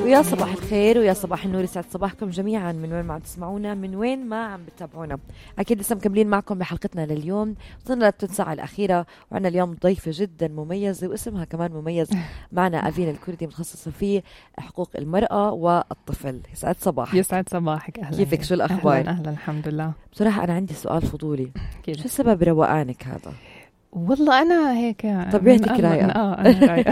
ويا صباح الخير ويا صباح النور، يسعد صباحكم جميعا من وين ما عم تسمعونا، من وين ما عم بتتابعونا. اكيد لسه مكملين معكم بحلقتنا لليوم، وصلنا للثلث ساعه الاخيره، وعندنا اليوم ضيفه جدا مميزه واسمها كمان مميز معنا، أفين الكردي، متخصصه في حقوق المراه والطفل. يسعد صباحك. يسعد صباحك. اهلا. كيفك؟ شو الاخبار؟ اهلا الحمد لله. بصراحه انا عندي سؤال فضولي، كده. شو سبب روقانك هذا؟ والله أنا هيك طبيعتك رايقة. أنا رايقة.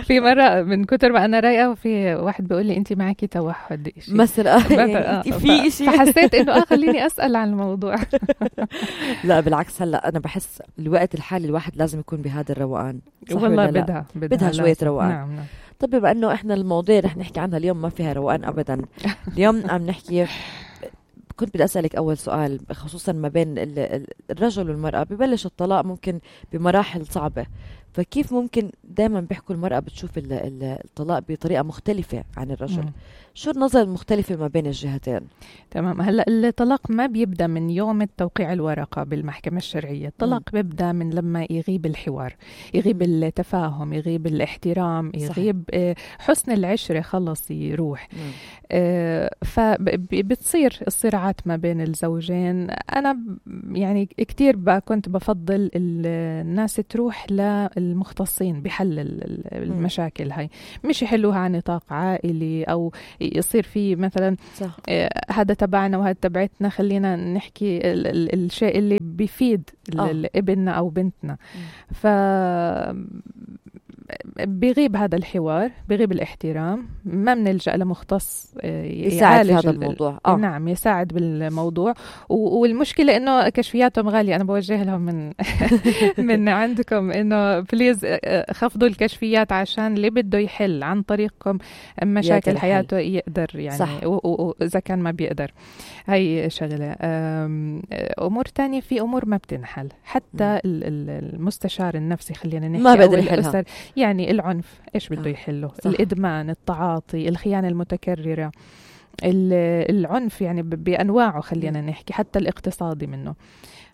في مرة من كتر ما أنا رايقة، وفي واحد بيقول لي أنت معكي توحد إشي مثلا في إشي، فحسيت إنه خليني أسأل عن الموضوع. لا بالعكس، هلا أنا بحس الوقت الحالي الواحد لازم يكون بهذا الروقان. والله بدها شوية روقان. نعم. طب بما أنه إحنا المواضيع رح نحكي عنها اليوم ما فيها روقان أبدا. اليوم عم نحكي، كنت بدي أسألك أول سؤال، خصوصا ما بين الرجل والمرأة، ببلش الطلاق ممكن بمراحل صعبة، فكيف ممكن دائما بيحكوا المرأة بتشوف الطلاق بطريقة مختلفة عن الرجل؟ شو النظرة المختلفة ما بين الجهتين؟ تمام. هلا الطلاق ما بيبدأ من يوم توقيع الورقة بالمحكمة الشرعية، الطلاق بيبدأ من لما يغيب الحوار، يغيب التفاهم، يغيب الاحترام، يغيب حسن العشرة، خلص يروح. فبتصير الصراعات ما بين الزوجين. أنا يعني كتير كنت بفضل الناس تروح للمختصين بحل المشاكل هاي، مش يحلوها عن نطاق عائلي، أو يصير في مثلا هذا تبعنا وهذا تبعتنا، خلينا نحكي الشيء اللي بيفيد ابننا أو بنتنا. بيغيب هذا الحوار، بيغيب الاحترام، ما بنلجأ لمختص يساعد في هذا الموضوع. نعم، يساعد بالموضوع. والمشكلة إنه كشفياتهم غالية. أنا بوجه لهم من عندكم إنه بليز خفضوا الكشفيات، عشان اللي بده يحل عن طريقكم مشاكل حياته يقدر يعني، وإذا كان ما بيقدر. هاي شغلة. أمور تانية، في أمور ما بتنحل، حتى المستشار النفسي خلينا نحكي ما بقدر يحلها. يعني العنف إيش بده يحله؟ الإدمان، التعاطي، الخيانة المتكررة، العنف يعني بأنواعه، خلينا نحكي حتى الاقتصادي منه.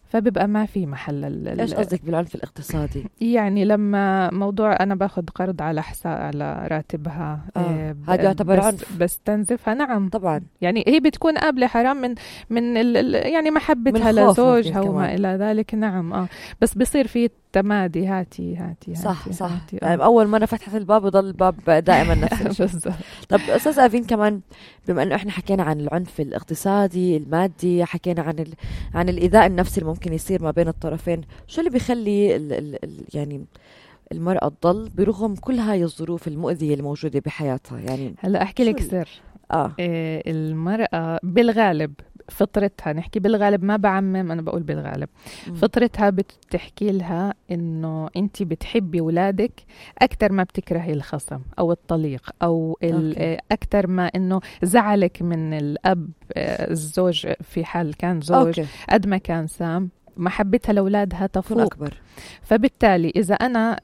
فبيبقى ما في محل. ايش قصدك بالعنف الاقتصادي؟ يعني لما موضوع انا باخذ قرض على على راتبها، هذا يعتبر عنف، بستنزفها. نعم طبعا. يعني هي بتكون قابلة حرام من يعني محبتها لزوجها وما الى ذلك. نعم. بس بيصير في تمادي، هاتي صح. يعني أول مرة فتحت الباب وضل الباب دائما نفس الشيء. طب أستاذ أفين، كمان بما أنه إحنا حكينا عن العنف الاقتصادي المادي، حكينا عن الإيذاء النفسي اللي ممكن يصير ما بين الطرفين، شو اللي بيخلي يعني المرأة تضل برغم كل هاي الظروف المؤذية اللي موجودة بحياتها؟ يعني هلا أحكي لك سر. المرأة بالغالب فطرتها، نحكي بالغالب ما بعمم، أنا بقول بالغالب، فطرتها بتحكي لها إنه أنت بتحبي أولادك أكتر ما بتكرهي الخصم أو الطليق، أو أكتر ما إنه زعلك من الأب، الزوج في حال كان زوج، قد ما كان سام، محبتها لأولادها تفوق أكبر. فبالتالي إذا أنا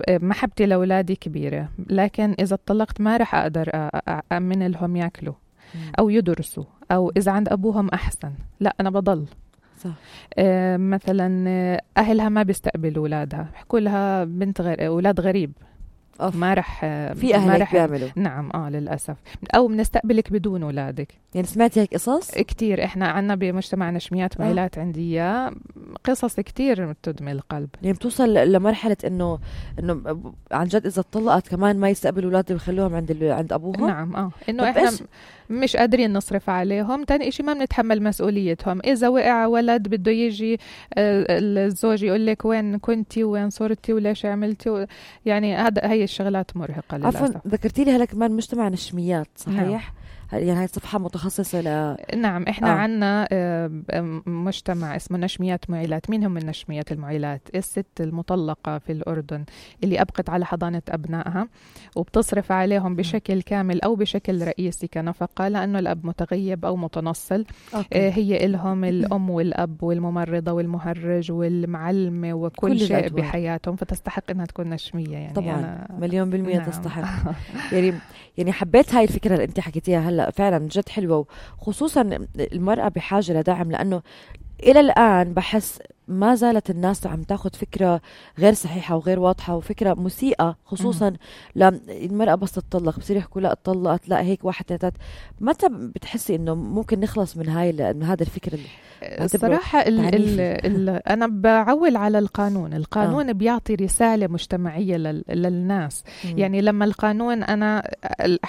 محبتي لأولادي كبيرة، لكن إذا اتطلقت ما رح أقدر أأمن لهم يأكلوا أو يدرسوا، أو إذا عند أبوهم أحسن، لا أنا بضل. صح. مثلا أهلها ما بيستقبلوا أولادها، بيحكوا لها بنت أولاد غريب، ما رح في أهلك بيعملوا. نعم للأسف. أو بنستقبلك بدون أولادك. يعني سمعتي هيك قصص كتير؟ إحنا عنا بمجتمعنا شميات ميلات، عندي قصص كتير تدمي القلب. يعني بتوصل لمرحلة إنه عن جد إذا اتطلقت كمان ما يستقبلوا أولادها ويخلوهم عند أبوهم. نعم. إنه إحنا مش قادرين نصرف عليهم. تاني إشي ما بنتحمل مسؤوليتهم. إذا وقع ولد بده يجي الزوج يقول لك وين كنتي وين صرتي وليش عملتي يعني هاي الشغلات مرهقة للأسف. عفوا، ذكرتي لي هلا كمان مجتمع النشميات، صحيح؟ يعني هاي صفحة متخصصة نعم. إحنا عنا مجتمع اسمه نشميات معيلات. مين هم النشميات المعيلات؟ الست المطلقة في الأردن اللي أبقت على حضانة أبنائها وبتصرف عليهم بشكل كامل أو بشكل رئيسي كنفقة، لأنه الأب متغيب أو متنصل. هي إلهم الأم والأب والممرضة والمهرج والمعلمة وكل شيء بحياتهم، فتستحق إنها تكون نشمية. يعني طبعا 100% نعم. تستحق. يعني حبيت هاي الفكرة اللي أنت حكيتيها هلا، فعلا جد حلوة، وخصوصا المرأة بحاجة لدعم، لأنه إلى الآن بحس ما زالت الناس عم تاخد فكرة غير صحيحة وغير واضحة وفكرة مسيئة، خصوصا لما المرأة بس تطلق بصير يحكوا لا اتطلقت، لا هيك واحد ثلاثات. متى بتحسي انه ممكن نخلص من من هذا الفكر؟ الصراحة أنا بعول على القانون بيعطي رسالة مجتمعية للناس. يعني لما القانون أنا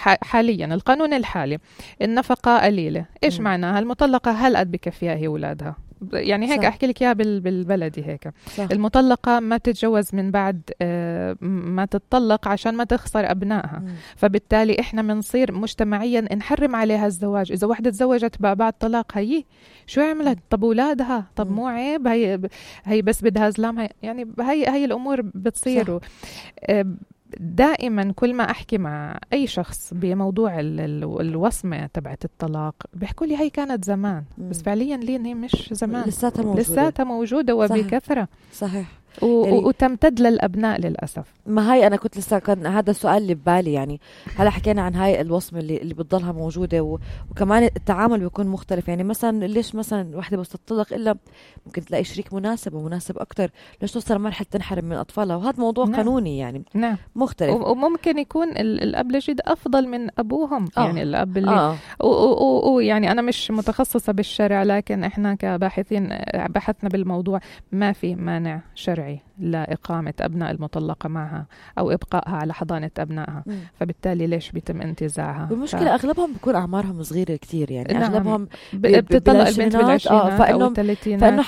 حاليا القانون الحالي النفقة قليلة، إيش معناها؟ المطلقة هل قد بكفيها هي أولادها؟ يعني هيك أحكي لك إياها بالبلدي هيك. صح. المطلقة ما تتجوز من بعد ما تتطلق عشان ما تخسر أبنائها. فبالتالي إحنا منصير مجتمعيا نحرم عليها الزواج. إذا واحدة تزوجت بعد طلاق هي شو عملت؟ طب أولادها؟ طب مو عيب؟ هي بس بدها زلام. يعني هي الأمور بتصير. دائما كل ما أحكي مع أي شخص بموضوع الوصمة تبعت الطلاق بيحكوا لي هي كانت زمان، بس فعليا لين هي مش زمان، لساتها موجودة وبكثرة. صحيح. وتمتد للأبناء للأسف. ما هي أنا كنت لسه كان هذا السؤال اللي ببالي. يعني هلا حكينا عن هاي الوصمة اللي بتضلها موجودة، وكمان التعامل بيكون مختلف. يعني مثلا ليش مثلا واحدة بس تطلق إلا ممكن تلاقي شريك مناسب أكتر، ليش توصل مرحلة تنحرم من أطفالها؟ وهذا موضوع قانوني يعني مختلف. وممكن يكون الأب الجديد أفضل من أبوهم. يعني الأب اللي يعني أنا مش متخصصة بالشرع، لكن إحنا كباحثين بحثنا بالموضوع، ما في مانع شرعي لإقامة أبناء المطلقة معها أو إبقائها على حضانة أبنائها. فبالتالي ليش بيتم انتزاعها؟ المشكلة أغلبهم بيكون أعمارهم صغيرة كتير. يعني أغلبهم بتطلق البنت بالعشرينات أو 30. فإنه